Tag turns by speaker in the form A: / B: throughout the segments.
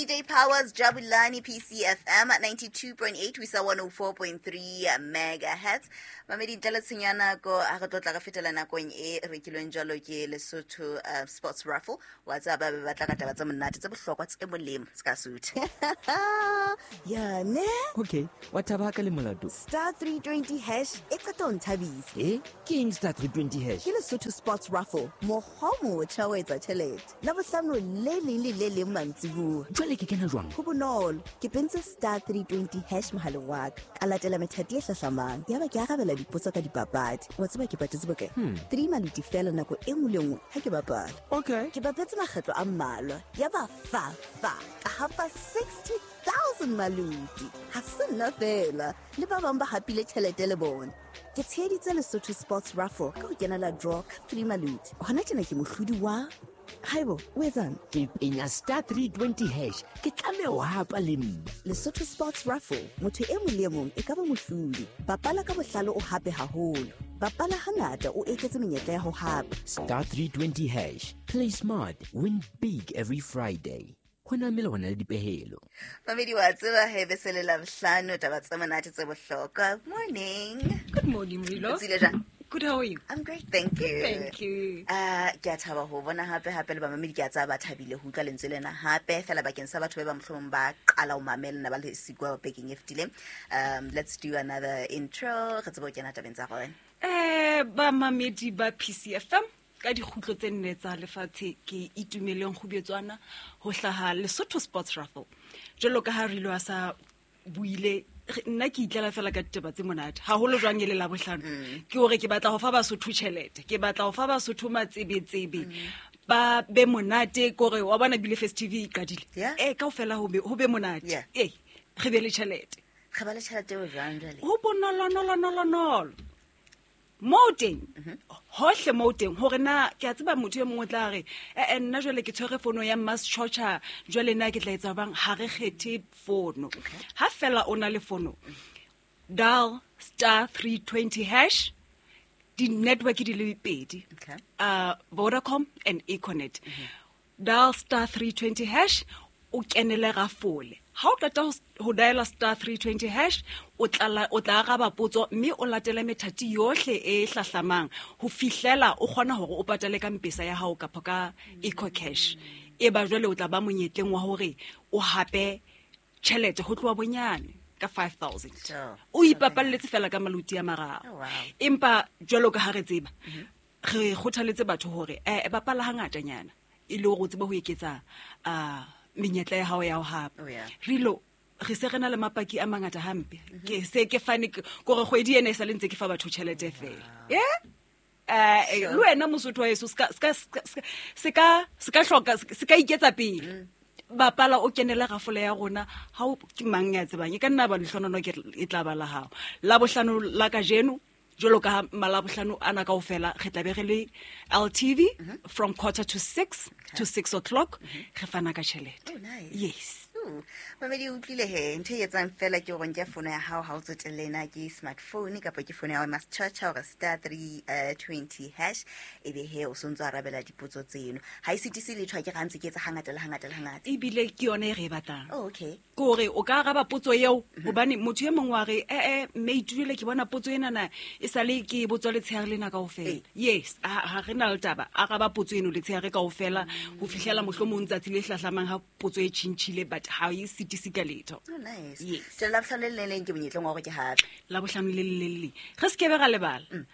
A: DJ Powers Jabulani PCFM 92.8 ho isa 104.3 megahertz. Mamedi, ntle le tshenyo ya nako, ha re tlo tla re fetela nakong e rekilweng jwalo ke Lesotho Sports Raffle. Wa tseba ba be ba tla ka taba tse monate, tse bohlokwa, tse molemo, se ka sutha.
B: Ya ne.
C: Okay, wa thaba ka le molato.
B: Star 320 hash e qeta ho nthabisa.
C: E ke eng star 320 hash?
B: Ke Lesotho Sports Raffle, mokgwa o motjha wa etsa tjhelete. Labohlano le leng le le leng mantsibuya.
C: Jwale ke kena jwang?
B: Ho bonolo, ke pentse star 320 hash mohaleng wa ka. Ka latela methati e hlahlamang. Yaba ke arabela dipotso ka dipapadi. Wa tseba ke patetse bokae? 3 maluti fela nako e nngwe le nngwe ha ke bapala.
C: Okay.
B: Ke bapetse makgetlo a mmalwa. Yaba fa fa ka hapa 60,000 maluti. Ha se nna fela, le ba bang ba hapile tjhelete le bona. Ke tsheheditse Lesotho Sports Raffle ka ho kenela draw ka 3 maluti. Hona tjena ke mohlodi wa Haibo, o etsang?
C: Ke penya star 320 hash, ke tlameha ho hapa le nna.
B: Lesotho Sports Raffle, motho e mong le e mong e ka ba mohlodi. Bapala ka bohlale o hape haholo. Bapala hangata o eketse menyetla ya ho hapa.
C: Star 320 hash, play smart, win big every Friday. Ho na melawana le dipehelo.
A: Mamedi, wa tseba he be se le Labohlano, taba tse monate tse bohlokwa. Morning.
D: Good morning, Rilo.
A: O tsile jwang?
D: Good, how are you?
A: I'm great, thank you.
D: Thank you.
A: Ke a thaba ho bona hape hape le bamamedi, ke a tsaba ba thabile ho utlwa lentswe lena hape fela bakeng sa batho ba ba mohlomong ba qala ho mamela nna ba le siko bekeng e fetileng. Let's do another intro. Re tsebe ho kena tabeng tsa rona.
D: Bamamedi ba PCFM ka dikgutlo tse nne tsa lefatshe, ke Itumeleng Kgubetswana ho hlaha Lesotho Sports Raffle. Jwalo ka ha Rilo a sa buile, nna ke itlela fela ka ditaba tse monate haholo jwang e le Labohlano. Ke hore ke batla ho fa Basotho tjhelete, ke batla ho fa Basotho matsebetsebe, ba be monate, kore wa bona bile First TV e qadile. Kaofela ho be monate. Re be le tjhelete.
A: Re ba le tjhelete eo jwang jwale?
D: Ho bonolo, nolo, nolo, nolo. Mo teng, hohle mo teng, hore na ke a tseba motho e mong o tla re, nna jwale ke tshwere fono ya Mass Chocha, jwale na ke tla etsa bang, ha re kgethe fono. Ha fela o na le fono, dial star 320 hash, di-network di le pedi. Vodacom and Econet. Dial star 320 hash, o kenele rafole. Ha o qeta ho diala star 320 hash, o tla araba potso mme o latele methati yohle e hlahlamang ho fihlela o kgona hore o patale ka M-Pesa ya hao kapa ka EcoCash. E ba jwale o tla ba monyetleng wa hore o hape tjhelete ho tloha bonyane ka 5,000. O ipapalletse fela ka maluti a mararo.
A: Oh, wow.
D: Empa jwalo ka ha re tseba, re kgothaletse batho hore, bapala hangatanyana e le hore o tsebe ho eketsa, menyetla ya hao ya ho hapa.
A: Oh, yeah.
D: Rilo, re se re na le mapaki a mangata hampe. Ke se ke fane kore kgwedi ena e sa le ntse ke fa batho tjhelete fela. Yeah? Le wena Mosotho wa heso, se ka hloka, se ka iketsa pele. Bapala o kenele rafole ya rona, ha o ke mang ya tsebang, e ka nna ba lehlonono ke e tla ba la hao. Labohlano la kajeno, jwalo ka ha malabohlano ana kaofela, re tla be re le LTV from quarter to six to 6 o'clock, re fana ka tjhelete.
A: Oh, nice.
D: Yes.
A: Ooh, mamedi, o utlwile he, ntho e etsang fela ke hore nke fono ya hao ha o tsotelle na ke smartphone kapa ke fono ya hao Mass Church, hore star three, twenty hash, ebe he o sontso arabela dipotso tseno. Ha e sitise letho, ha ke re ha ntse ke etsa hangata le hangata le hangata.
D: Ebile ke yona e re e batlang.
A: Oh, okay.
D: Ke hore o ka araba potso eo, hobane motho e mong wa re, mme Itumeleng, ke bona potso enana e sale ke e botswa letshehare lena kaofela. Yes, ha re na le taba, araba potso eno letshehare kaofela ho fihlela mohlomong tsatsi le hlahlamang ha potso e tjhintjhile, but ha e sitise ka letho.
A: Oh, nice.
D: Yes.
A: Jwale Labohlano le leng le leng ke monyetleng wa hore ke hape.
D: Labohlano le leng le leng. Re se ke be ra lebala.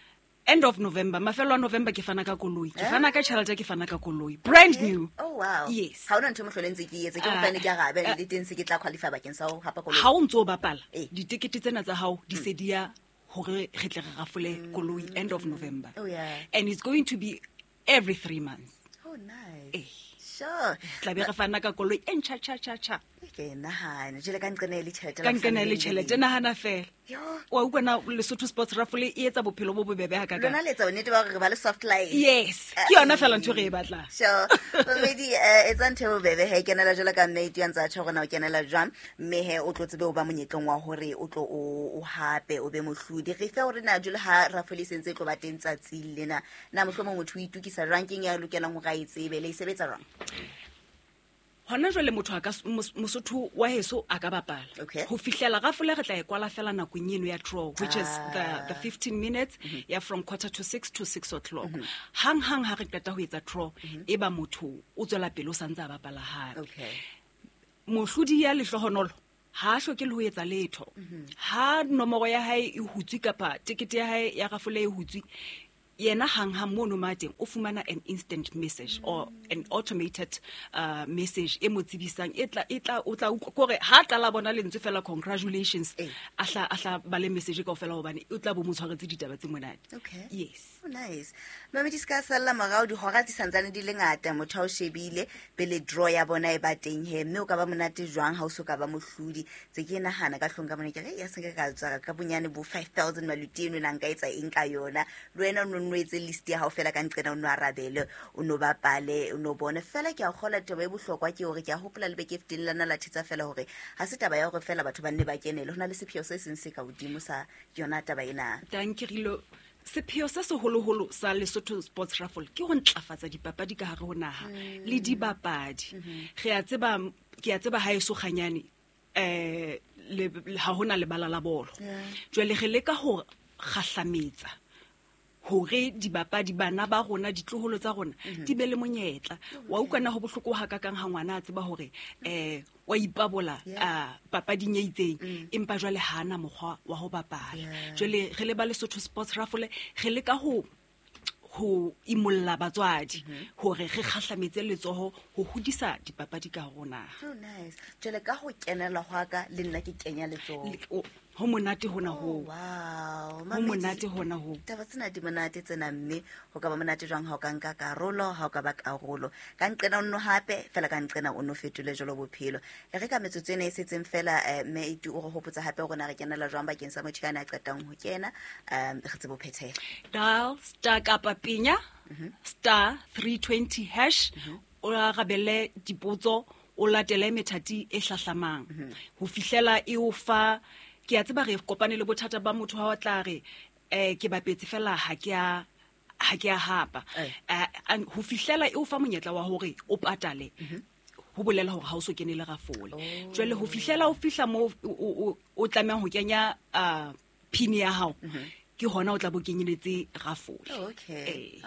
D: End of November, mafelo a November ke fana ka koloi. Ke fana ka tjhelete, ke fana ka koloi. Brand new.
A: Oh, wow.
D: Yes.
A: Ha hona ntho e mohlolo e ntse ke e etse, ke hobane ke arabe, le teng se ke tla qualify bakeng sa ho hapa koloi.
D: Ha o ntso o bapala, ditekete tsena tsa hao di se di ya hore re tle re rafole koloi end of November.
A: Oh, yeah.
D: And it's going to be every 3 months.
A: Oh, nice. Sure.
D: Tla be re fana ka koloi e ntjha, tjha, tjha, tjha.
A: Ke nahana, jwale ka nqena e le tjhelete
D: Ka
A: la
D: nqena e le
A: bohlano le
D: tjhelete,
A: leng.
D: nahana fela.
A: Yo.
D: Wa utlwa na Lesotho Sports Raffle e etsa bophelo bo bobebe hakakang.
A: Lona le etsa bonnete ba hore re ba le soft life.
D: Yes, ke yona fela ntho e re e batlang.
A: Sure. Mamedi, etsa ntho e bobebe he, kenela jwalo ka mme Itu a ntse a tjho hore na o kenela jwang, mme he o tlo tsebe ho ba monyetleng wa hore o tlo o hape, o be mohlodi. Re fe hore na jwalo ha raffle e sentse e tlo ba teng tsatsing lena, na mohlomong motho o itokisa jwang, keng ya lokelang hore a e tsebe, le e sebetsa jwang?
D: Hona jwale motho a ka Mosotho wa heso a ka bapala.
A: Okay.
D: Ho fihlela rafole re tla e kwala fela nakong eno ya draw, which is the 15 minutes ya from 5:45 to 6 o'clock. Hang hang ha re qeta ho etsa draw, e ba motho o tswela pele o santse a bapala hape.
A: Okay.
D: Mohlodi ya lehlohonolo ha a hloke le ho etsa letho. Ha nomoro ya hae e hutswe kapa tekete ya hae ya rafole e hutswe, yena hang hang mono ma teng o fumana an instant message or an automated message e mo tsebisang, e tla, e tla, o tla utlwa kore ha qala bona lentswe fela congratulations,
A: Eh.
D: a hla ba le message kaofela hobane o tla bo mo tshwaretse ditaba tse monate.
A: Okay.
D: Yes.
A: Oh, nice. Mamedi, se ka salla morao, dihora di santsane di le ngata, motho ha o shebile pele draw ya bona e ba teng he, mme o ka ba monate jwang ha o so ka ba mohlodi. Tse ke nahana ka hlong ka mona ke re, ya se nka ka tswa ka bonyane bo 5000 maluti eno na nka etsa eng ka yona. Le wena o no etse list ya hao fela ka nqena o no arabele, o no bapale, o no bone. Fela ke a kgolwa taba e bohlokwa ke hore ke a hopola le beke e fetileng la nna la thetsa fela hore ha se taba ya hore fela batho ba nne ba kenele, ho na le sepheo se seng se ka hodimo sa yona taba ena.
D: Danke, Rilo. Sepheo se seholoholo sa Lesotho Sports Raffle ke ho ntlafatsa dipapadi ka hare ho naha le dibapadi. Re a tseba, ke a tseba ha eso kganyane, le, ha hona lebala la bolo. Jwale re leka ho kgahlametsa hore dibapadi bana ba rona, ditloholo tsa rona, di be le monyetla. Wa utlwa na ho bohloko ha kakang ha ngwana a tseba hore, wa ipabola, papading e itseng, empa jwale ha ana mokgwa wa ho bapala. Jwale re le ba Lesotho Sports Raffle re leka ho imolla batswadi hore re kgahlametse letsoho ho hodisa dipapadi ka hare ho naha.
A: So nice. Jwale ka ho kenela hwa ka le nna ke kenya letsoho.
D: Ho monate hona
A: Oh,
D: hoo.
A: wow.
D: Ho
A: Mamedi,
D: monate hona hoo.
A: Taba tsena di monate tsena, mme ho ka ba monate jwang ha o ka nka karolo, ha o ka ba karolo. Ka nqena o nno hape, fela ka nqena o nno fetole jwalo bophelo. E re ka metsotso ena e setseng fela, mme e tu o re hopotsa hape hore na re kenela jwang bakeng sa motho ya na qetang ho kena, re tsebe ho phethela.
D: Dial star kapa penya, star 320 hash, o arabele dipotso, o latele methati e hlahlamang. Ho fihlela e o fa, ke a tseba re kopane le bothata ba motho ha o tla re, ke bapetse fela ha ke a, ha ke a hapa. Ho fihlela e o fa monyetla wa hore o patale. Ho bolela hore ha o so kene le rafole. Jwale ho fihlela o fihla moo o tlamehang ho kenya, PIN ya hao, ke hona o tla bo kenyeletse rafole.
A: Oh, okay.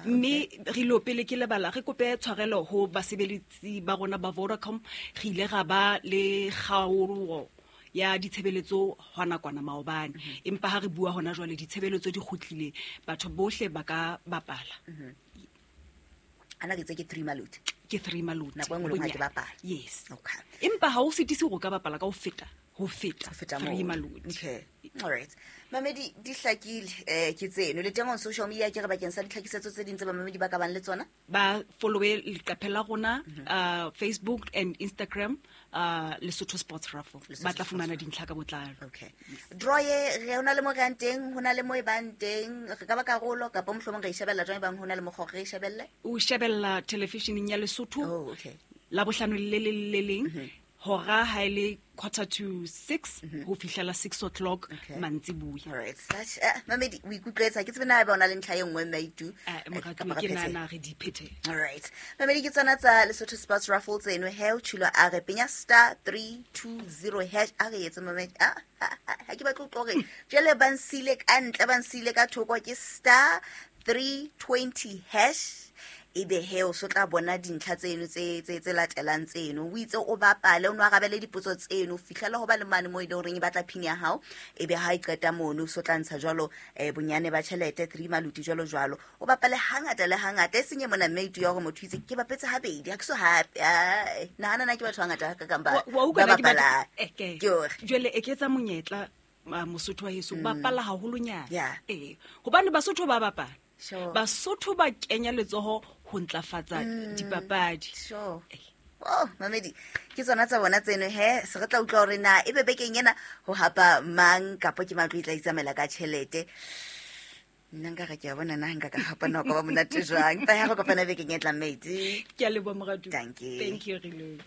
D: Mme re lo pele ke lebala, re kope tshwarelo ho basebeletsi ba rona ba Vodacom, re ile ra ba le kgaolo ya ditshebeletso hona kwana maobane. Empa ha re bua hona jwale ditshebeletso di kgutlile, batho bohle ba ka bapala.
A: Ana ke tse ke 3 maluti.
D: Ke 3 maluti.
A: Nako e nngwe le nngwe ha ke
D: Bonyane.
A: bapala.
D: Yes.
A: Okay.
D: Empa ha o sitise hore o ka bapala ka ho feta, ho feta
A: Ho feta
D: 3
A: moo.
D: maluti.
A: Okay. All right. Mamedi, di hlakile, ke tseno. Le teng on social media ke re bakeng sa ditlhakisetso tse ding tse bamamedi ba ka bang le tsona?
D: Ba follow-e leqephe la rona, Facebook and Instagram, Lesotho Sports Raffle.
A: Lesotho
D: Ba tla
A: Sports
D: fumana
A: Raffle.
D: dintlha ka botlalo.
A: Okay. Draw ye, re hona le mo re yang teng, hona le mo e bang teng, re ka ba karolo kapa mohlomong re e shebella jwang e bang hona le mokgwa re e shebelle?
D: O shebella television-eng ya Lesotho.
A: Oh, okay.
D: La bohlano le le le leng. Hora ha e le 5:45 ho fihlela 6 o'clock mantsiboya.
A: All right. Such, Mamedi, o ikutlwetsa, ke tsebe na eba o na le ntlha e nngwe, mme a itu?
D: Moratuwa,
A: Kapa re
D: ke
A: phethele?
D: nahana re di phethe.
A: All right. Mamedi, ke tsona tsa Lesotho Sports Raffle tseno. He, o tshilo a re penya star 320 hash. A re etse, Mamedi. Ha ke batle ho utlwa hore jwale ba nsile ka ntle, ba nsile ka thoko, ke star 320 hash. Ebe he o so tla bona dintlha tseno tse latelang tseno. O itse o bapale, o no arabele dipotso tseno, o fihlela ho ba le mane moo e leng horeng e batla PIN ya hao. Ebe ha e qeta mono, o so tla ntsha jwalo, bonyane ba tjhelete, 3 maluti jwalo jwalo. O bapale hangata le hangata, e seng e mona mme e tuya hore motho o itse, ke bapetse habedi, ha ke so hape. Ai, nahana na ke batho ba bangata hakakang
D: Wa utlwa
A: ba
D: na ke batho-
A: bapalang.
D: Ke.
A: Ke hore.
D: Jwale eketsa monyetla, Mosotho wa heso, bapala haholonyana.
A: Yeah.
D: Hobane Basotho ba bapala.
A: Sure.
D: Basotho ba kenya letsoho ho ntlafatsa dipapadi.
A: Sure. Oh, Mamedi, ke tsona tsa bona tseno he, se re tla utlwa hore na ebe bekeng ena ho hapa mang kapa ke matlo e tla itsamaela ka tjhelete. Nna nka re ke a bona na nka ka gapa nako ba monate jwang. Pa ya go kopana bekeng e tlang mate.
D: Ke a leboha moratuwa.
A: Dankie.
D: Thank you, Rilou.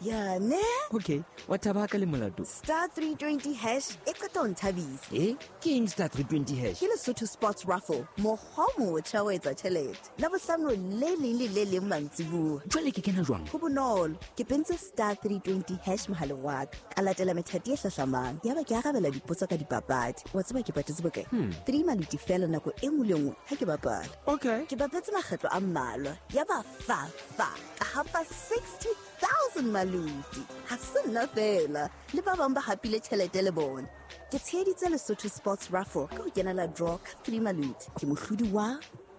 B: Ya ne?
C: Okay, wa thaba ka le molato.
B: Star 320 hash e qeta ho nthabisa.
C: E ke eng star 320 hash?
B: Ke Lesotho Sports Raffle, mokgwa o motjha wa ho etsa tjhelete. Labohlano le leng le le leng mantsibuya.
C: Jwale ke kena jwang?
B: Ho bonolo, ke pentse star 320 hash mohaleng wa ka. Ka latela methati e hlahlamang. Yaba ke arabela dipotso ka dipapadi. Wa tseba ke patetse bokae? 3 maluti feela nako e nngwe le nngwe ha ke bapala.
C: Okay.
B: Ke bapetse makgetlo a mmalwa. Yaba fa fa ka hapa 60,000 maluti. Ha se nna feela, le ba bang ba hapile tjhelete le bona. Ke tsheheditse Lesotho Sports Raffle ka ho kenela draw ka 3 maluti. Ke mohlodi wa